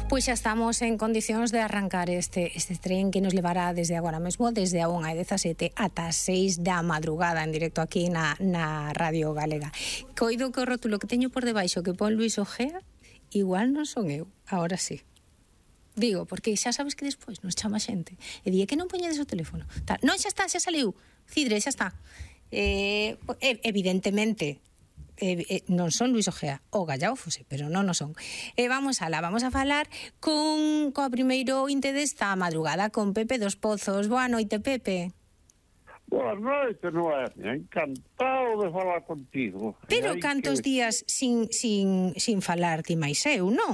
Pois xa estamos en condicións de arrancar este tren que nos levará desde agora mesmo, desde a 1:17 ata as 6 da madrugada, en directo aquí na Radio Galega. Coido que o rótulo que teño por debaixo que pon Luis Ojea, igual non son eu, agora sí. Digo, porque xa sabes que despois nos chama xente e di que non poñedes o teléfono. Non, xa está, xa saliu. Cidre, xa está. Evidentemente, non son Luis Ojea, o Gallao Fose, pero non son. Vamos a falar coa primeiro inte desta madrugada, con Pepe dos Pozos. Boa noite, Pepe. Boa noite, Noemia. Encantado de falar contigo. Pero cantos días sin falar ti máis eu, non?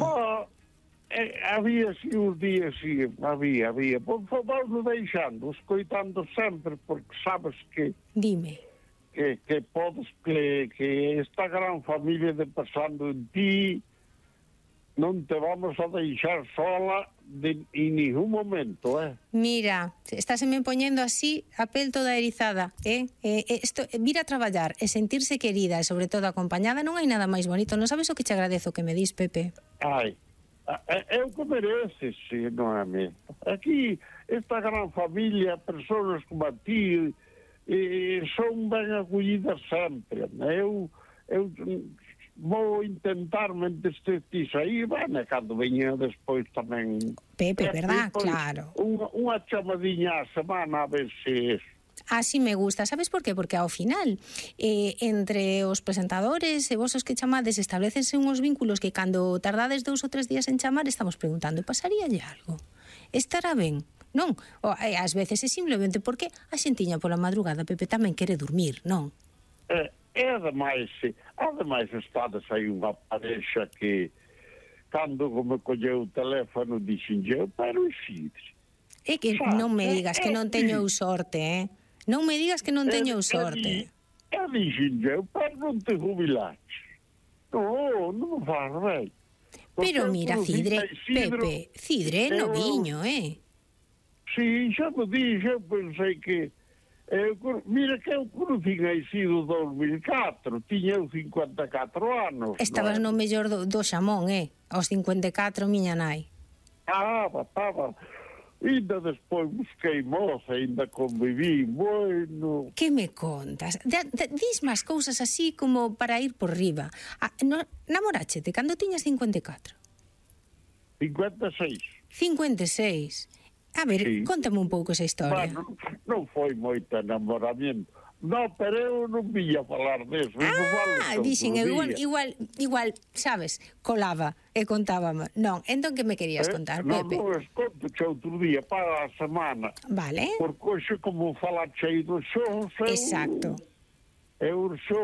Había si uns días, si, había. Por favor, deixando, escoitando sempre, porque sabes que... Dime. Que podes, que esta gran familia de Pensando en Ti non te vamos a deixar sola en ningún momento, Mira, estáseme poñendo así a pel toda erizada, Isto, vir a traballar e sentirse querida e sobre todo acompañada non hai nada máis bonito. Non sabes o que che agradezo que me dis, Pepe? Ai, é o que mereces, Noemia. Aquí, esta gran familia, persoas como a ti, son ben acollidas sempre. Eu vou intentar mentre estes aí, cando veña despois tamén Pepe, verdad? Claro. Unha chamadinha a semana a ver se así me gusta, sabes por qué? Porque ao final entre os presentadores e vos os que chamades establecense uns vínculos que cando tardades 2 ou 3 días en chamar estamos preguntando, pasaríalle algo? Estará ben? Non, ás veces é simplemente porque a xentiña pola madrugada, Pepe, tamén quere dormir, non? Ademais estades aí unha parexa que cando me colleu o teléfono dixenlle, pero Isidre. É que non me digas que non teño sorte, Non me digas que non teño sorte. Dixenlle, pero non te jubilaches. Non faz ben. Pero mira, Cidre, Pepe, Cidre é noviño, Si, xa me dixo, pensei que... mira que eu conocín a Isidro 2004, tiña 54 anos. Estabas no mellor do xamón, aos 54, miña nai. Estaba. Ainda despois busquei moza, ainda conviví, bueno... Que me contas? Dis máis cousas así como para ir por riba. Namoráchete cando tiñas 54? 56. 56. A ver, sí. Contame un pouco esa historia. Bueno, non foi moito enamoramiento. No, pero eu non vía falar deso. Dixen, igual, sabes, colaba e contábame. Non, entón que me querías contar, Pepe? Non, conto che outro día para a semana. Vale. Porque hoxe como falar chei do xo, exacto. Eu xo